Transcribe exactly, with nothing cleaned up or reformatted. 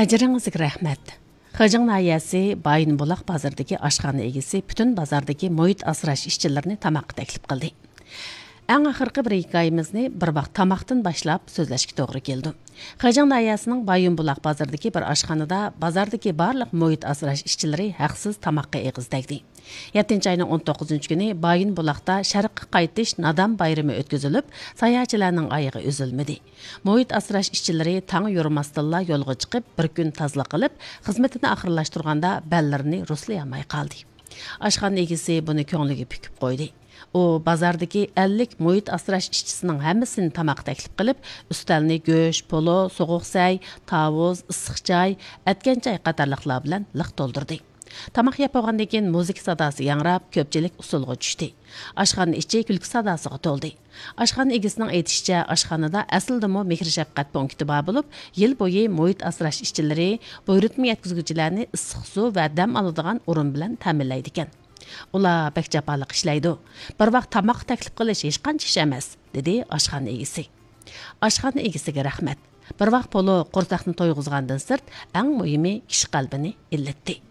ئەجرىڭىزگە رەھمەت. خېجىڭ ناھىيەسى بايىنبۇلاق بازىرىدىكى ئاشخانا ئىگىسى پۈتۈن بازاردىكى مۇھىت ئاسراش ئىشچىلىرىنى تاماققا تەكلىپ قىلدى. ئەڭ ئاخىرقى بىر ھېكايىمىزنى بىر ۋاق تاماقتىن باشلاپ سۆزلەشكە توغرا كېلىدۇ. خېجىڭ ناھىيەسىنىڭ بايىنبۇلاق بازىرىدىكى بىر ئاشخانىدا بازاردىكى بارلىق مۇھىت ئاسراش ئىشچىلىرى ھەقسىز تاماققا ئېغىز تەگدى. يەتتىنچى ئاينىڭ ئون توققۇزىنچى كۈنى بايىنبۇلاقتا شەرققە قايتىش نادان بايرىمى ئۆتكۈزۈلۈپ، ساياھەتچىلەرنىڭ ئايىغى ئۈزۈلمىدى. مۇھىت ئاسراش ئىشچىلىرى تاڭ يورۇماستىنلا يولغا چىقىپ، بىر كۈن تازىلىق قىلىپ، خىزمىتىنى ئاخىرلاشتۇرغاندا بەللىرىنى رۇسلىيالماي قالدى. ئاشخانا ئىگىسى بۇنى كۆڭلىگە پۈكۈپ قويدى. ئۇ بازاردىكى ئەللىك مۇھىت ئاسراش ئىشچىسىنىڭ ھەممىسىنى تاماققا تەكلىپ قىلىپ، ئۈستەلنى گۆش، پولۇ، سوغۇق سەي، تاۋۇز، ئىسسىق چاي، ئەتكەن چاي قاتارلىقلار بىلەن لىق تولدۇردى. تاماق يەپ بولغاندىن كېيىن مۇزىكا ساداسى ياڭراپ، كۆپچىلىك ئۇسسۇلغا چۈشتى. ئاشخانا ئىچى كۈلكە ساداسىغا تولدى. ئاشخانا ئىگىسىنىڭ ئېيتىشىچە، ئاشخانىدا ئەسلىدىمۇ مېھىر-شەپقەت پونكىتى بار بولۇپ، يىل بويى مۇھىت ئاسراش ئىشچىلىرى بۇيرۇتما يەتكۈزگۈچىلەرنى ئىسسىق سۇ ۋە دەم ئالىدىغان ئورۇن بىلەن تەمىنلەيدىكەن. «ئۇلار بەك جاپالىق ئىشلەيدۇ. بىر ۋاق تاماققا تەكلىپ قىلىش ھېچقانچە ئىش ئەمەس»، دېدى ئاشخانا ئىگىسى. ئاشخانا ئىگىسىگە رەھمەت. بىر ۋاق پولۇ قورساقنى تويغۇزغاندىن سىرت، ئەڭ مۇھىمى كىشى قەلبىنى ئىللىتتى.